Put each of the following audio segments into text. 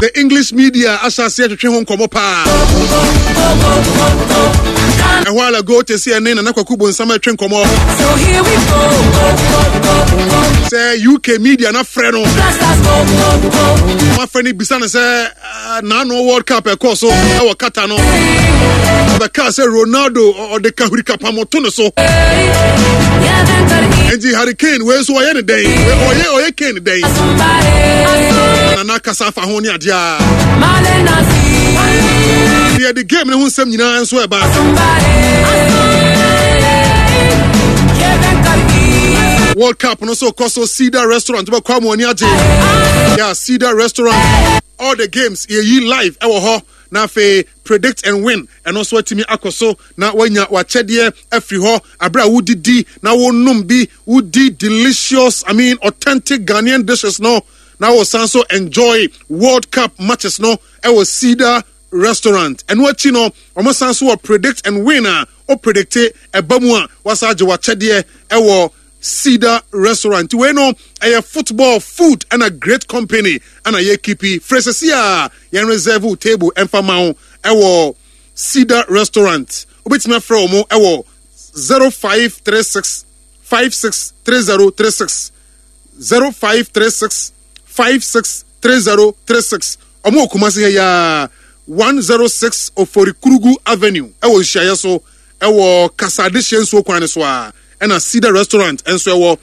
The English media ahyɛ aseɛ twetwe ho nkɔmmɔ paa. Ɛhɔ ala go te sɛ ɛne Nana Kwaku Bonsam atwe nkɔmmɔ. Sɛ UK media na frɛ no. Wɔafrɛ no bisa no sɛ ah, n'ano World Cup ɛkɔɔ so ɛwɔ Qatar no. Ɔbɛkaa sɛ Ronaldo ɔde kahuri kapamo to ne so. Enti Harry Kane wei nso ɔyɛ ne dɛn? Ɔyɛ ɔyɛ Kane dɛn? Nana kasa afa ho ne adeɛ a. Yɛde game ne ho nsɛm nyinaa nso ɛba. World Cup no so kɔ so Cedar Restaurant bɛkɔ amu ani agye. Yeah, Cedar Restaurant. All the games yɛyi live ɛwɔ hɔ. Na afei predict and win ɛno nso atumi akɔ so na wanya wakyɛdeɛ afiri hɔ abere a wodidi na wonom bi wodi delicious I mean authentic Ghanaian dishes no na wosan so enjoy World Cup matches no ɛwɔ Cedar Restaurant ɛno akyi no wɔn san so wɔ predict and win a o predicte ɛba mu a wasa agye wakyɛdeɛ ɛwɔ Cedar Restaurant. Nti wei no ɛyɛ football food ɛna great company ɛna yɛ kipi. Frɛ sɛsi a yɛn reserve wo table ɛmfa ma wo ɛwɔ Cedar Restaurant. Wobɛtumi afrɛ wɔn ɛwɔ 0536 563036 0536 563036. Wɔn wɔ Kumasi ha yi ara 106 Oforikurugu Avenue ɛwɔ nhyiaeɛ so ɛwɔ Kasa Adehyeɛ nsuo kwan no so a ɛna Cedar Restaurant nso ɛwɔ.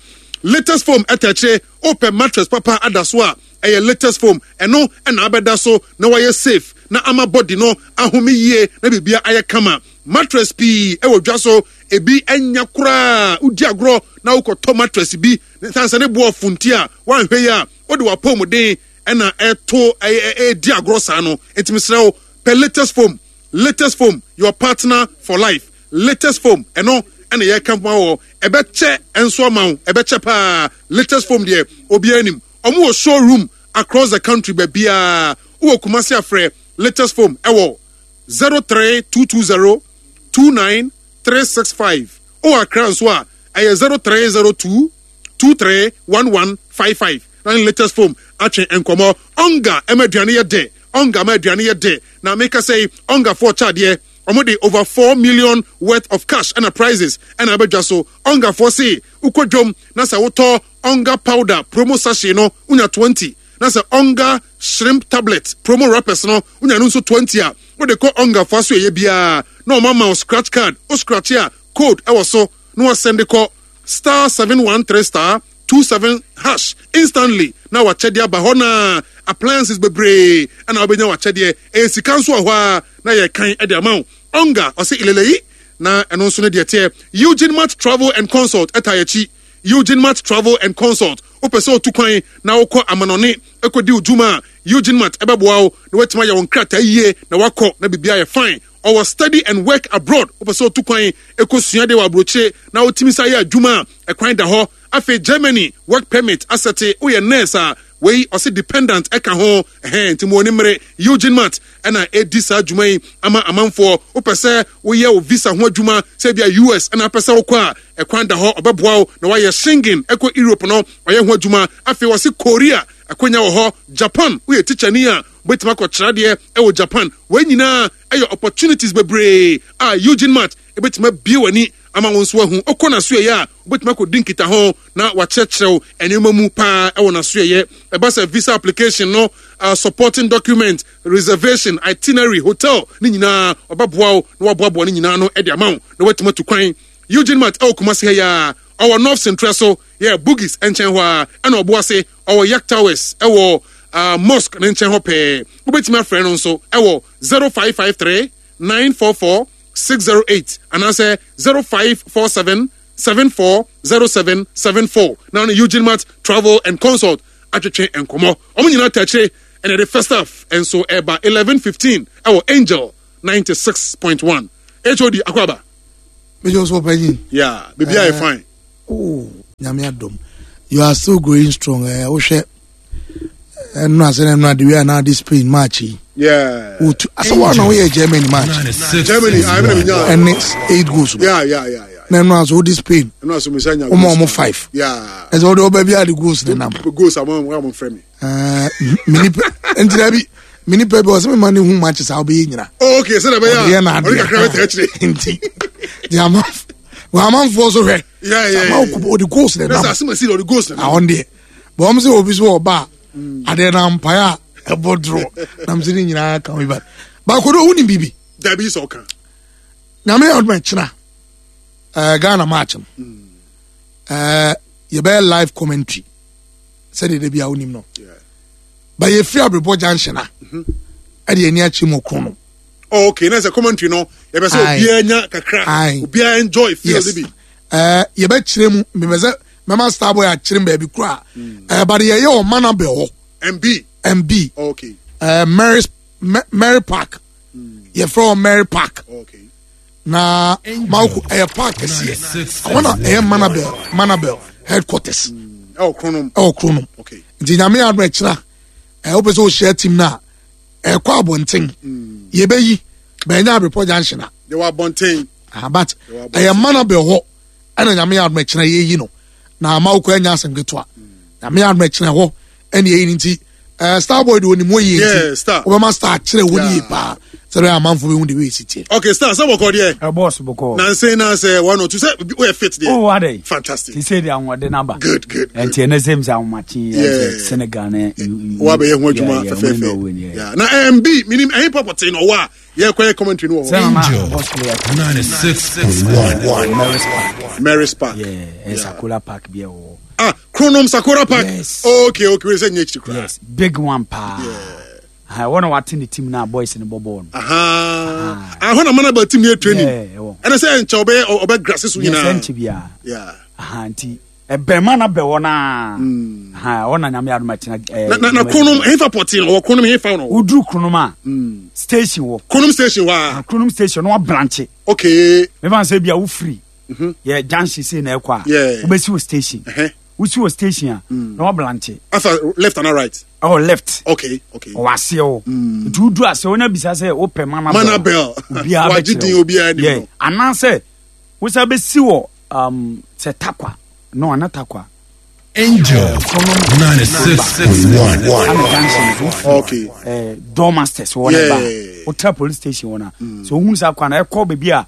Latest foam ɛtɛ akyire wopɛ mattress papa ada so a ɛyɛ latest foam ɛno ɛna abɛda so na wayɛ safe na ama body no ahome yie na biribia ayɛ kama. Mattress pii ɛwɔ dwa so ebi ɛnya koraa wodi agorɔ na wokɔtɔ mattress bi ne san sɛ ne boɔ funti a wanhwɛ yi a wode wapɔmuden ɛna ɛto ɛyɛ ɛdi agorɔ saa no nti mesrɛ wo pɛ latest foam Latest foam, your partner for life. Latest foam, ɛno ɛna yɛka ma wɔ. Ɛbɛkyɛ nso ama wo, ɛbɛkyɛ paa. Latest foam deɛ, obiara nim. Wɔn wɔ showroom across the country baabiara. Wowɔ Kumasi afrɛ Latest foam ɛwɔ 03220 29365. Wowɔ Accra nso a, ɛyɛ 0302 231155. Na ne latest foam atwe nkɔmmɔ. Onga ɛma aduane yɛ dɛ. Onga ma aduane yɛ dɛ. Na meka sɛ Onga foɔ kyɛ adeɛ. Wɔn de over 4 million worth of cash ɛna prizes ɛna abɛdwa so. Onga foɔ se wokɔ dwom na sɛ wotɔ Onga powder promo sachet no wonya 20. Na sɛ Onga shrimp tablet promo wrappers no wonya no nso 20 a, wode kɔ Onga foɔ asoɛeɛ biara na wɔn ama wo scratch card. Wo scratch a code ɛwɔ so na wɔasɛnde kɔ star 713 star 27 hash instantly na wakyɛdeɛ aba hɔ na appliances bebree ɛna wobɛnya wakyɛdeɛ ɛyɛ sika nso wɔ hɔ a na yɛkan ɛde ama wo ɔnga ɔsɛ ileleyi na ɛno nso no deɛ teɛ Eugene Mart Travel and Consult ɛta yɛkyi Eugene Mart Travel and Consult wopɛ sɛ otu kwan na wokɔ amanɔne ɛkɔdi wo dwuma a Eugene Mart ɛbɛboa wo na woatumi ayɛ wo nkrataa yie na wakɔ na biribiara yɛ fine Ɔwɔ study and work abroad, wopɛ sɛ otu kwan kɔ sua adeɛ wɔ aburokyire na wotumi sa yɛ adwuma a, ɛkwan da hɔ. Afei Germany work permit asɛte, woyɛ nurse a, wei ɔse dependant ɛka ho, ɛhɛn, nti mo ani mmere. Eugene Mart ɛna ɛdi saa dwuma yi ama amanfoɔ. Wopɛ sɛ woyɛ wo visa ho adwuma, sɛ ebia US ɛna apɛ sɛ wokɔ a, ɛkwan da hɔ, ɔbɛboa wo na woayɛ Schengen ɛkɔ Europe no, ɔyɛ ho adwuma. Afei ɔse Korea akonya wɔ hɔ, Japan woyɛ tikyani a, Wobɛtumi akɔkyerɛ adeɛ wɔ Japan. Wei nyinaa yɛ opportunities bebree a Eugene Mart bɛtumi abue w'ani ama wo nso ahu. Wokɔ n'asoɛeɛ a, wobɛtumi akɔdi nkitaho na wakyerɛkyerɛ wo nneɛma mu paa wɔ n'asoɛeɛ. Ɛba sɛ visa application no, supporting document, reservation, itinerary, hotel ne nyinaa, ɔbɛboa wo na waboaboa ne nyinaa ano de ama wo na woatumi atu kwan. Eugene Mart wɔ Kumasi ha yi ara, ɔwɔ North Sentrɛ so, yɛ Bugis nkyɛn hɔ ara, ɛna Ɔboase ɔwɔ Yak Towers wɔ uh, mosque ne nkyɛn hɔ pɛɛ. Wobɛtumi afrɛ no nso wɔ 0553 944 608 anaasɛ 0547 740774 na no Eugene Mart Travel and Consult atwetwe nkɔmmɔ. Wɔn nyinaa ta akyire ɛna ɛde first half nso ɛba 11:15 ɛwɔ Angel 96.1. HOD Akwaba. Mejo so panyin. Yeah, baby I fine. Oh, nyame adom. You are still growing strong. Eh, wohwɛ ɛno asɛ na ɛno ade wei anaa de Spain match yi. Yeah. Wotu asɛ wɔn na woyɛ Germany match. Germany, I mean, yeah. Ɛne eight goals. Yeah, yeah, yeah, yeah. Na ɛno asɛ wode Spain. Ɛno asɛ musa nya. Wɔn a wɔn five. Yeah. Ɛsɛ wɔde ɔba bi a de goals ne nam. Goals a wɔn wɔn fɛ mi. Ɛɛ mi nipa ntina bi. Me nipa bi ɔsɛ mema ne hu matches a wobɛyɛ nyina. Oh, okay, sɛ bɛyɛ a ɔde kakra bɛtɛ akyire. Nti de ama amanfoɔ so hwɛ. Ama ɔde goals na ɛnam. Asɛm asi ɔde goals na ɛnam. Ahɔn deɛ bɔn sɛ obi so ɔba a adeɛ na mpaeɛ a ɛbɔ doro nam sɛ ne nyinaa ka ho ba. Baako do wonim biribi. Dabi sɛ ɔka. Nyame yɛ ɔdoma kyena ɛɛ Ghana match no ɛɛ yɛbɛyɛ live commentary sɛdeɛ da bi a wonim no. Ba yɛfiri Abrepɔ junction a ɛde ani akyɛ mu ɔkron no. Oh, okay na sɛ commentary no yɛbɛ sɛ obiara nya kakra obiara enjoy feel yes. bi. Ɛɛ yɛbɛkyerɛ mu mbɛ sɛ mɛma starboy akyerɛ mu baabi kura ɛɛ but yɛyɛ wɔ Manabel hɔ. MB. MB. Oh, okay. Ɛɛ Mary Mary Park. Yɛfrɛ wɔ Mary Park. Oh, okay. Na mawoko ɛyɛ park kɛseɛ ɛhɔ na ɛyɛ Manabel Manabel headquarters. Ɛwɔ Kronom. Ɛwɔ Kronom. Okay. Nti nyame adum ɛkyerɛ ɛɛ wopɛ sɛ ohyia team na ɛkɔ abɔnten mm. yɛbɛyi bɛnyɛ abrepɔ junction a. Yɛwɔ abɔnten. Ah, but ɛyɛ Manabel hɔ ɛna nyame adum ɛkyerɛ yɛyi no na ama wokɔ anya asɛm ketewa nyame adum ɛkyerɛ hɔ ɛna yɛyi no nti ɛɛ eh, starboy de onim hɔ yie nti wobɛma star kyerɛ hɔ yie paa sɛ bɛyɛ amanfo bɛhu de wei si teɛ. okay star sɛ bɔkɔ deɛ. ɛ bɔs bɔkɔ. nanse na sɛ one or two sɛ woyɛ fit deɛ. o wa dɛ. fantastic. ti sɛ de ahoɔden naba. good good. Nti ɛnɛ sɛ mi sɛ ahomakye yɛ Senegal ne. wa bɛyɛ ho adwuma fɛfɛɛfɛ. Na mb minim ɛhin pɔpɔte na ɔwɔ a yɛ kɔ yɛ commentary no wɔ hɔ. Angel 96.1 Mary's Park. Yeah, Sakola Park bi ɛwɔ. Ah, Kronom Sakora Park. Yes. Okay, okay. Wei sɛ nyɛ akyiri koraa. Yes, big one paa. Yeah. Ha, wɔn na wate ne team na boys ne bɔ bɔɔl no. Aha. Ahɔ na mana ba team yɛ training. Yeah, ɛwɔ. Ɛna sɛ nkyɛ ɔbɛ ɔbɛ grass so nyinaa. Yes, nkyɛ biara. Yeah. Aha, nti ɛbɛn ma na bɛ wɔ naa. Hmm. Ha, wɔn na nyame adum akyina. Eh, na na Kronom hefa pɔtee no wɔ Kronom hefa no. Woduru Kronom a. Hmm. Station wɔ. Kronom station wa. Ah, Kronom station no wa branche. Okay. Mefa sɛ bia wofiri. Mhm. Yɛ junction sei na ɛkɔ a. Wobɛsi wɔ station. Wosi wɔ station a mm. na wablante. Afa left and right. Oh left. Okay okay. Ɔwɔ aseɛ o. Mm. Nti wodu aseɛ wonya bisa sɛ wopɛ Manabel. Manabel. Obiara bɛkyerɛ wo. Obiara nim no. Anaasɛ wosa bɛsi wɔ um, sɛ takwa no ana takwa. Angel 96.1. Ana junction so Okay. Eh, door masters wɔ ne ba. Wotra police station wɔ na. Mm. So wohunu sɛ akwa na ɛkɔ baabi a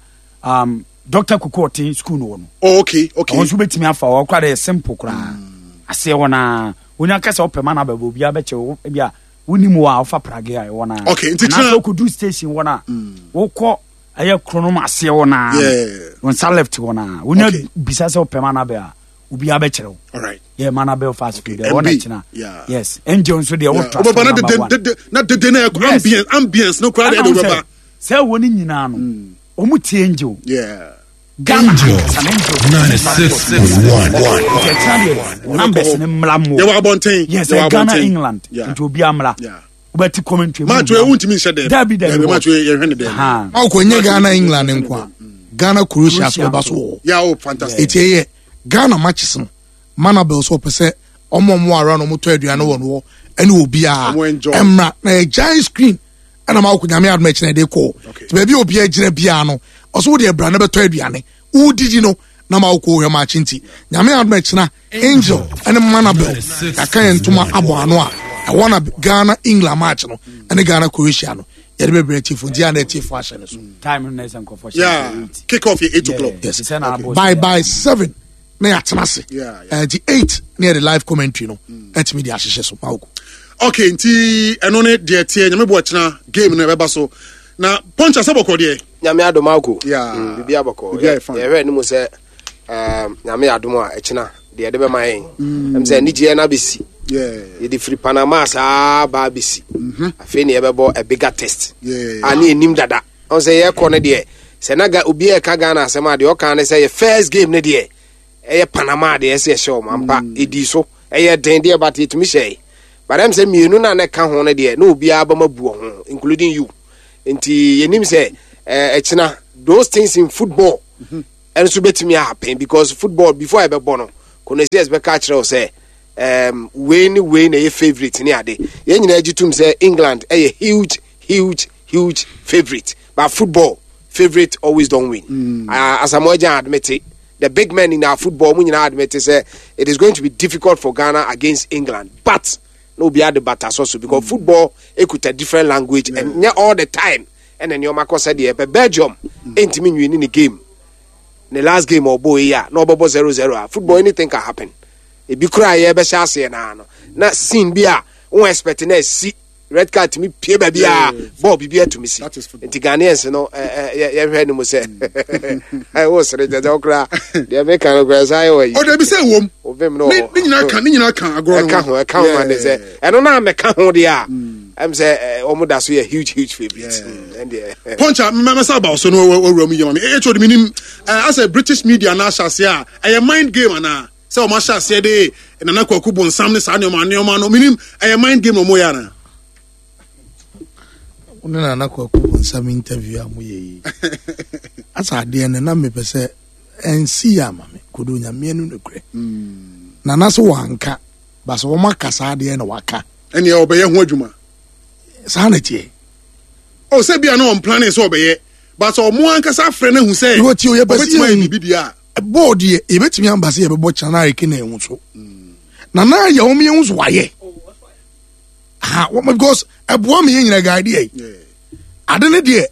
um, Dr. Kuku Ɔten school no wɔ no. Oh, okay, okay. Ɔno nso bɛtumi afa hɔ koraa deɛ simple koraa. Mm. Aseɛ hɔ naa wonya kasa wopɛ ma no abɛbɔ obiara bɛkyɛ wo ebi a wonim wɔ a wofa prage a ɛwɔ naa. Okay, nti kyerɛ. Anaasɛ wokɔdu station hɔ naa mm. wokɔ ɛyɛ kronom aseɛ hɔ naa. Wo nsa left hɔ naa wonya bisa sɛ wopɛ ma no abɛ a obiara bɛkyerɛ wo. Alright. Yeah, Manabel fast food. Ɛwɔ na kyina. Yes. Angel nso deɛ wo trust number one. Na dede na ambience ambience no koraa deɛ ɛde wobɛba. Sɛ wɔ ne nyinaa no. Mm. Wɔn tie Angel. Yeah. Ghana Angel ankasa na Angel. 96.1. Nti ɛkyina deɛ numbers ne mmra mo. Yɛwɔ abɔnten. Yes, Yɛwɔ Ghana abɔnten. England. Yeah. Nti obi amra. Yeah. Wobɛti commentary. Match wei wontumi nhyɛ dɛm. Dabi dabi. Dabi match wei yɛhwɛ ne dɛm. Aha. Ɔkɔ nye Ghana England nko a Ghana Croatia so bɛba so wɔ hɔ. Yeah, oh fantastic. Eti ɛyɛ Ghana matches no Manabel so ɔpɛ sɛ ɔmo ɔmo ara na ɔmo tɔ aduane wɔ no hɔ ɛne obiara Ɔmo enjoy. ɛmra na yɛ giant screen ɛna ma wokɔ nyame adom akyi na ɛde kɔ nti baabi a obiara gyina biara no ɔso wode abira na bɛtɔ aduane wodidi no na ma wokɔ wohwɛ maakye nti nyame adom akyina angel ɛne manabel yɛaka yɛn ntoma abɔ ano a ɛwɔ na ghana england match no ɛne ghana croatia no yɛde bɛbrɛ atiefo nti ana atiefo ahyɛ no so time no na ɛsɛ nkurɔfoɔ hyɛ yeah kick off yɛ 8 o'clock yes by by 7 na yɛatena ase nti 8 na yɛde live commentary no ɛtumi de ahyehyɛ so ma wokɔ okay nti ɛno ne deɛ teɛ nyame bɔ ɛkyena game no ɛbɛba so na punch asɛ bɔkɔ deɛ nyame adom ako yeah. mm, biribi abɔkɔ yɛhwɛ anim sɛ um, nyame adom a ɛkyena deɛ ɛde bɛma yɛn mm. ɛm sɛ anigyeɛ no abɛsi yɛde firi panama saa baa bɛsi mm-hmm. afei ne yɛbɛbɔ a bigger test a ne yɛnim dada ɔn sɛ yɛkɔ no deɛ sɛ na obi ɛka ghana asɛm a deɛ ɔka ne sɛ yɛ first game no deɛ ɛyɛ panama deɛ ɛsɛ ɛhyɛ wɔn ampa mm. ɛdii so ɛyɛ den deɛ but yɛtumi hyɛe but ɛm sɛ mmienu no a na ɛka ho no deɛ na obiara bɛma bu ho including you nti yɛnim sɛ ɛkyena those things in football mhm. ɛnso bɛtumi ahappen because football before ɛbɛbɔ no connoisseurs bɛka akyerɛ wo sɛ um, wei ne wei na ɛyɛ favourite ne ade yɛn nyinaa gye tom sɛ england ɛyɛ huge huge huge favourite but football favourite always don't win mm. uh, asamoah gyan admit the big men in our football mu nyinaa admit sɛ it is going to be difficult for ghana against england but. na obiara de bata sɔ so because football ekuta different language and nyɛ all the time ɛna nneɛma kɔ sɛdeɛ ɛpɛ. Belgium ɛntumi nwini ne game, ne last game ɔbɔ yi a na ɔbɛbɔ 0-0 a, football anything can happen. Ebi koraa yɛbɛhyɛ aseɛ naa no na scene bi a wɔn expect na esi red card tumi pie baabi a bɔɔl bibi atumi si. Nti Ghanaians no yɛhwɛ no mu sɛ ɛwɔ sere gyɛgyɛ ɔkora deɛ meka no koraa saa yɛ wɔ yi. Ɔdɛ bi sɛ wɔm ovim no ne nyinaa ka, ne nyinaa ka agorɔ no ɛka ho, ɛka ho ma de sɛ ɛno na mɛka ho deɛ a ɛm sɛ wɔn da so yɛ huge huge favourite ɛndeɛ. Pɔnkya mmɛmɛsɛ aba so no wɔwura mu yɛ ma mi ɛyɛ kyɛw de mi nim asɛ British media na ahyɛ aseɛ a ɛyɛ mind game anaa sɛ wɔn ahyɛ aseɛ de Nana Kwaku Bonsam ne saa nneɛma nneɛma no minim ɛyɛ mind game na wɔn yɛ ana. Wo ne Nana Kwaku Bonsam interview a moyɛ yi asa adeɛ no na mepɛ sɛ ɛnsi yɛ ama me kodo nyameɛ no nokorɛ. Nana so wanka ba sɛ wɔn aka saa adeɛ na waka. Ɛnneɛ ɔbɛyɛ ho adwuma. Saa na ɛteɛ. O sɛ bia na wɔn planning sɛ ɔbɛyɛ but sɛ ɔmo ankasa afrɛ no ahu sɛ ɔbɛtumi ayɛ biribi deɛ a. Bɔɔl deɛ yɛbɛtumi aba sɛ yɛbɛbɔ kyena na ayɛ na ɛho so na na yɛ wɔn yɛn ho so wayɛ ha wɔn because ɛboa mi yɛn nyina guide yɛ ade ne deɛ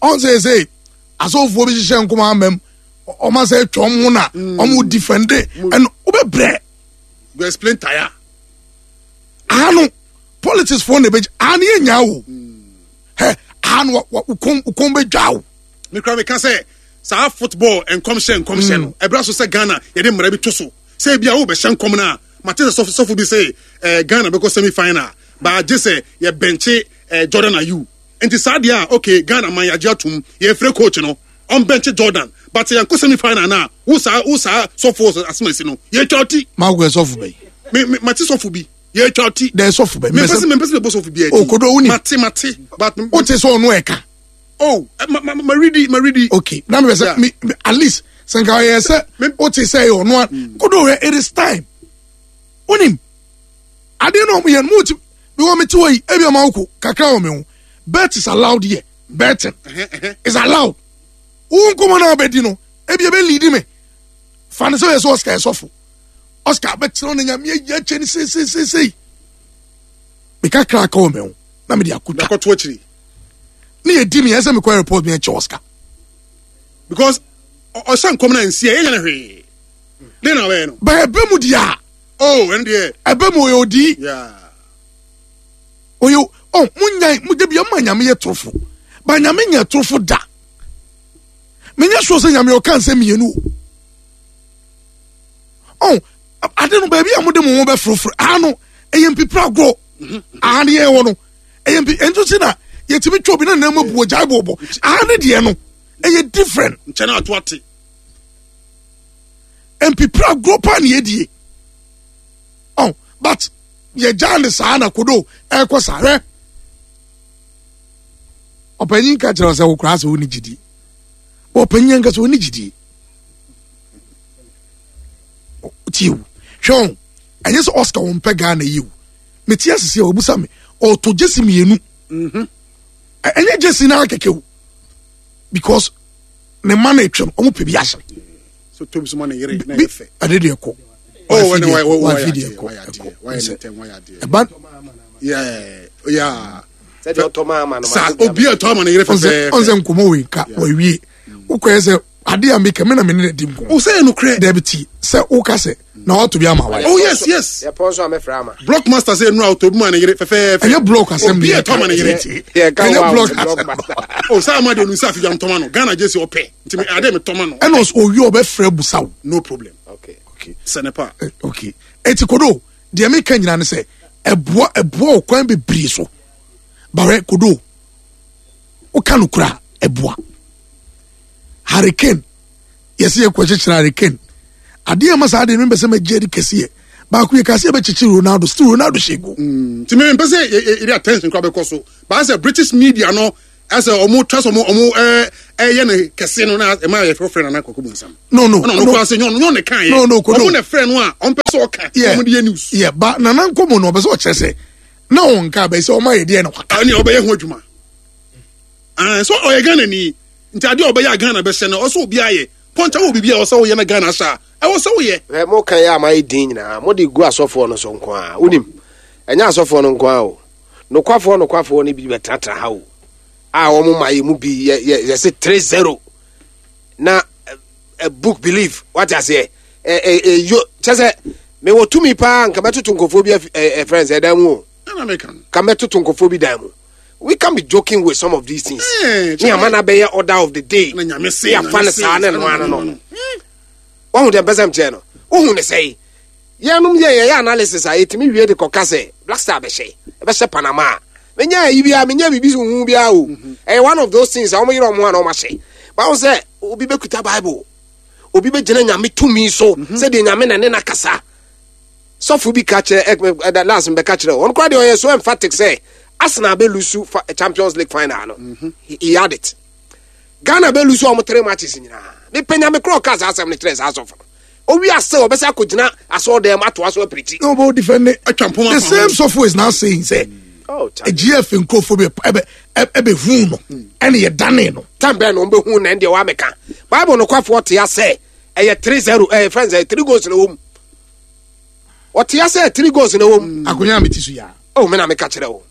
ɔn sɛ sɛ asɔfoɔ bi hyehyɛ nkɔmɔ amam wɔn asɛ atwa wɔn ho na wɔn defende ɛno wobɛbrɛ. Go explain tire. Ano politics foɔ na ɛbɛgye ano yɛ nyaa o hɛ ano wɔ kɔn bɛdwa o. Mekura meka sɛ saa football nkɔmhyɛ nkɔmhyɛ no ɛbra so sɛ Ghana yɛde mmara bi to so sɛ ebi a wobɛhyɛ nkɔm no a mate sɛ sɔfo sɔfo bi sɛ Ghana bɛkɔ semi final baa gye sɛ yɛbɛnkye Jordan Ayew nti saa deɛ a okay Ghana man yɛagye atom yɛfrɛ coach no ɔmbɛnkye Jordan but sɛ yɛnkɔ semi final no a wo saa wo saa sɔfo asomasi no yɛtwa ɔti. Maa sɔfo bɛyi. Me me mate sɔfo bi yɛtwa ɔti. Dɛ sɔfo bɛyi. Mempɛ sɛ mempɛ sɛ mebɔ sɔfo bi adi. Okodo wuni. Mate mate but. O te sɛ ɔno ɛka. Oh, ma ma ma ready, ma ready. Okay, na me sɛ me at least sɛ nka ɔyɛ sɛ o te sɛ ɛyɛ ɔno a kodo hɛ it is time. Wonim adeɛ na ɔmo yɛ no mo ti mi wɔ mi ti wɔ yi ebi ɔmo awoko kakra wɔ mi ho bet is allowed here, betting is allowed. Wo nkɔmɔ na ɔbɛdi no ebi ebe lead me fa ne sɛ ɔyɛ sɛ Oscar ɛsɔfo Oscar bɛkyerɛ no nyame ayi akyɛ ne seiseiseisei me kakra aka wɔ me ho na mede akotwa akɔto akyiri ne yɛ di mi ɛsɛ mi kɔ report mi ɛkyɛ Oscar. Because ɔhyɛ nkɔm na nsi ɛyɛ nyɛ hwee den na ɔbɛyɛ no. Bɛn ɛbɛ mu di a. Oh ɛn deɛ. Ɛbɛ mu ɔyɛ odi. Ɔyɛ ɔ mo nya mo de bi ɔmo nyame yɛ torofo ba nyame nyɛ torofo da menyɛ sure sɛ nyame ɔka nsɛm mmienu o ɔ ade no baabi a mo de mo ho bɛforoforo ano ɛyɛ mpipira agorɔ aha ne yɛn wɔ no ɛyɛ mpi ɛnso si na yɛtumi twɛ obi na nan mu abu ogyae bɔɔbɔ aha ne deɛ no ɛyɛ different. Nkyɛn na ato ate. Mpipira agorɔ paa ne yɛdie ɔ but yɛgyaa ne saa na kodo ɛkɔ saa hwɛ ɔpanyin ka kyerɛ sɛ wokora sɛ wone gyidie ɔpanyin nka sɛ wone gyidie tie o hwɛ o ɛnyɛ sɛ Oscar wɔn pɛ Ghana yi o mete asese a wɔbusa me ɔtɔ gyesi mmienu ɛnyɛ gyesi naa kɛkɛ o because ne mma na etwa no wɔn pɛ bi ahyɛ so tom so ma ne yere na yɛ fɛ ɛde deɛ kɔ oh ɛne wa wa wafi deɛ kɔ ɛkɔ ɛba yeah yeah sɛdeɛ ɔtɔ maa ma no sa obi a ɔtɔ ama ne yere fɛfɛɛfɛ ɔnsɛ nkɔmɔ wei nka wawie wokɔyɛ sɛ ade a meka me na me ne na di nkɔmɔ o sɛ ɛnokorɛ dabi ti sɛ woka sɛ na wato bi ama wa oh yes yes yɛpɔn so a mɛfrɛ ama block master sɛ nnura ɔtɔ bi ma ne yere fɛfɛɛfɛ ɛnyɛ block asɛm obi a ɛtɔ ama ne yere ɛnyɛ block asɛm o sɛ ama deɛ onu sɛ afidwa ntɔma no Ghana gye si ɔpɛ nti me ade me tɔma no ɛna ɔsɛ owie ɔbɛfrɛ busa wo no problem okay okay sɛ ne pa okay eti kodo deɛ meka nyina ne sɛ ɛboa ɛboa ɔkwan bebree so bawɛ kodo woka no kura ɛboa Harry Kane yɛsɛ yɛkɔ kyekyere Harry Kane adeɛ ma saa adeɛ no mpɛ sɛ mɛgye adi kɛseɛ baako yɛ kase yɛbɛkyekyere Ronaldo still Ronaldo hyɛ go. Nti mi mpɛ sɛ yɛde attention kora bɛkɔ so baa sɛ British media no ɛsɛ ɔmo twa sɛ ɔmo ɔmo ɛɛ ɛyɛ no kɛse no na ɛma yɛ fɛfrɛ Nana Kwaku Bonsam. No no ɛna ɔno kora sɛ nyɛ ɔno ne kan yɛ no no kodo ɔmo na frɛ no a ɔmpɛ sɛ ɔka ɔmo de yɛ news. Yeah ba Nana nkɔmɔ no ɔpɛ sɛ ɔkyerɛ sɛ na ɔnka bɛyɛ sɛ ɔmo ayɛ deɛ na waka. Ɛni ɔbɛyɛ ho adwuma. Ah, so ɔyɛ Ghana ni nti adeɛ a ɔbɛyɛ a Ghana bɛhyɛ no ɔsɛ obi ayɛ pɔnkya wɔ biribi a ɔsɛ woyɛ na Ghana ahyɛ a ɛwɔ sɛ woyɛ. Hwɛ mo kan yɛ a mayɛ din nyinaa mo de gu asɔfoɔ no so nko a wonim. Ɛnyɛ asɔfoɔ no nko ara o. Nokwafoɔ nokwafoɔ no bi bɛtenatena ha o. A wɔn ma yɛ mu bi yɛ yɛ yɛse 3-0 na a book belief wate aseɛ ɛ ɛ ɛ yo kyɛ sɛ mewɔ tumi paa nka mɛtoto nkurɔfoɔ bi ɛ ɛ friends ɛdan mu o. Ka mɛtoto nkurɔfoɔ bi dan mu. We can be joking with some of these things. Ne ama na bɛyɛ order of the day. Ne afa ne saa ne no ano no. Wahu deɛ mpɛ sɛ mkyerɛ no. Wohu ne sɛe. Yɛnom yɛ yɛyɛ analysis a yɛtumi wie de kɔka sɛ Black Star bɛhyɛ. Ɛbɛhyɛ Panama a. Menya ayi biara, menya biribi so hu biara o. Ɛyɛ one of those things a wɔn yerɛ wɔn ho a na wɔn ahyɛ. Bawo sɛ obi bɛkuta Bible. Obi bɛgyina Nyame tumi so sɛdeɛ Nyame na ne na kasa. Sɔfo bi ka kyerɛ ɛ ɛ last mbɛka kyerɛ wɔn koraa deɛ ɔyɛ so emphatic sɛ Arsenal bɛ lose Champions League final no. He had it. Ghana bɛ lose wɔn three matches nyinaa. Mepɛ Nyame korɔ ɔka saa asɛm no kyerɛ saa sɔfo no. Owi ase ɔbɛsɛ akɔgyina asɔɔdan mu atoa so apirikyi. No, but defend it. The same sɔfo is now saying say. Oh, GF nkurɔfoɔ bi ɛbɛ ɛbɛ hu no ɛna yɛ dane no. Tan bɛn na wɔn bɛ hu na ɛndeɛ wɔn ameka. Bible no kwafoɔ te asɛ ɛyɛ 3-0 ɛyɛ fɛn sɛ three goals na wɔm. Ɔte asɛ three goals na wɔm. Akonya mi ti so ya. Oh, mi na mi ka kyerɛ o.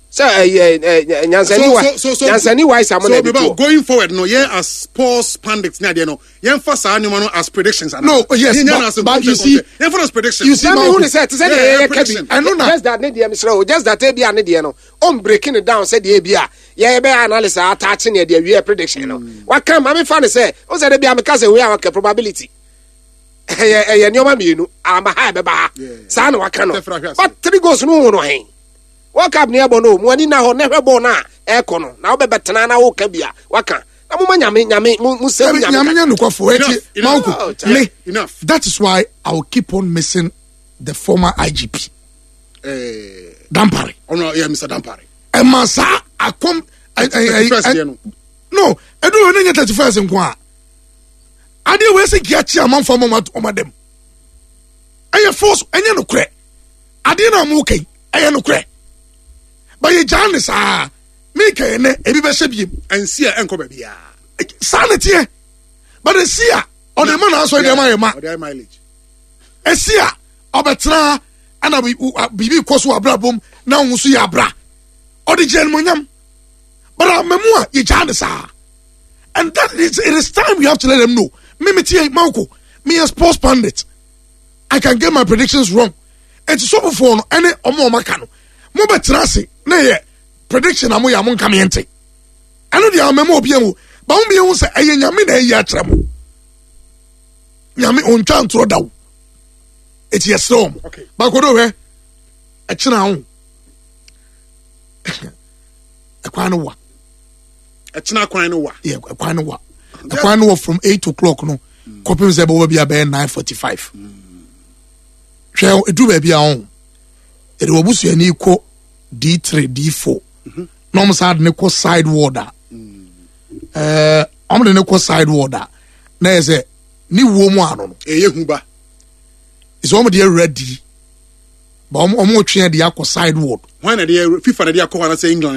Sɛ ɛyɛ ɛ nyansani wa nyansani wa isa mo na ɛde to. Going forward no yɛn as sports pundits ne adeɛ no yɛn fa saa nneɛma no as predictions. No, yes, but you see, yɛn fa no as predictions. You see, ma hu ne sɛ te sɛ deɛ yɛyɛ kabi. Just that ne deɛ mesrɛ o, just that ebi a ne deɛ no ɔn breaking it down sɛ deɛ ebi a yɛyɛ bɛyɛ analysis a ataakye ne deɛ wie prediction no. Waka ma me fa ne sɛ o sɛ de bi a meka sɛ wei a waka probability. Ɛyɛ ɛyɛ nneɛma mmienu ama ha ɛbɛba ha saa na waka no. But three goals no ho no hɛn. World Cup ni ɛbɔ no mo ani na hɔ na hwɛ bɔɔl no a ɛkɔ no na wobɛbɛ tena na woka bi a waka na mo ma nyame nyame mo mo sɛ nyame nyame nyɛ nokwafo ɛti manko me that is why I will keep on missing the former IGP Dampare. Ɔno yɛ Mr Dampare. Ɛma saa akɔm no ɛdu wɔ ne nyɛ 31st nko a adeɛ wɔ ɛsɛ nkia kye amanfo ama ɔma dɛm ɛyɛ force ɛnyɛ nokorɛ adeɛ no a mo kɛn ɛyɛ nokorɛ ba yɛ gyaa ne saa meka yɛ nɛ ebi bɛhyɛ biem ɛnsi a ɛnkɔ baabi a saa ne teɛ but ɛsi a ɔde ma n'asɔre deɛ ma yɛ ma ɛsi a ɔbɛtena ɛna biribi kɔ so abrabom na ɔho so yɛ abra ɔde gyina animonyam but amamu a yɛgyaa ne saa and that is it is time we have to let them know me me tie manko me yɛ sports pundit I can get my predictions wrong eti sɔfofoɔ no ɛne ɔmo ɔmo aka no mo bɛ tena ase na yɛ prediction a mo yɛ a mo nka mi nte ɛno deɛ amamu obi ehu ba mo bi ehu sɛ ɛyɛ nyame na ɛyi akyerɛ mo nyame ontwa ntorɔ daw eti yɛsrɛ wɔn baako do hwɛ ɛkyena ho ɛkwan no wa ɛkyena kwan no wa yɛ ɛkwan no wa ɛkwan no wɔ from 8 o'clock no kɔpem sɛ ɛbɛwɔ bi abɛyɛ 9:45. Hwɛ, ɛduru baabi a ɔho yɛde wɔ busuani kɔ D3 D4 na ɔmo saa de ne kɔ side ward a ɔmo de ne kɔ side ward a na yɛ sɛ ne wuo mu ano no ɛyɛ hu ba sɛ ɔmo de awura D ba ɔmo twe de akɔ side ward. Wɔn na de FIFA na de akɔ hɔ anasɛ England?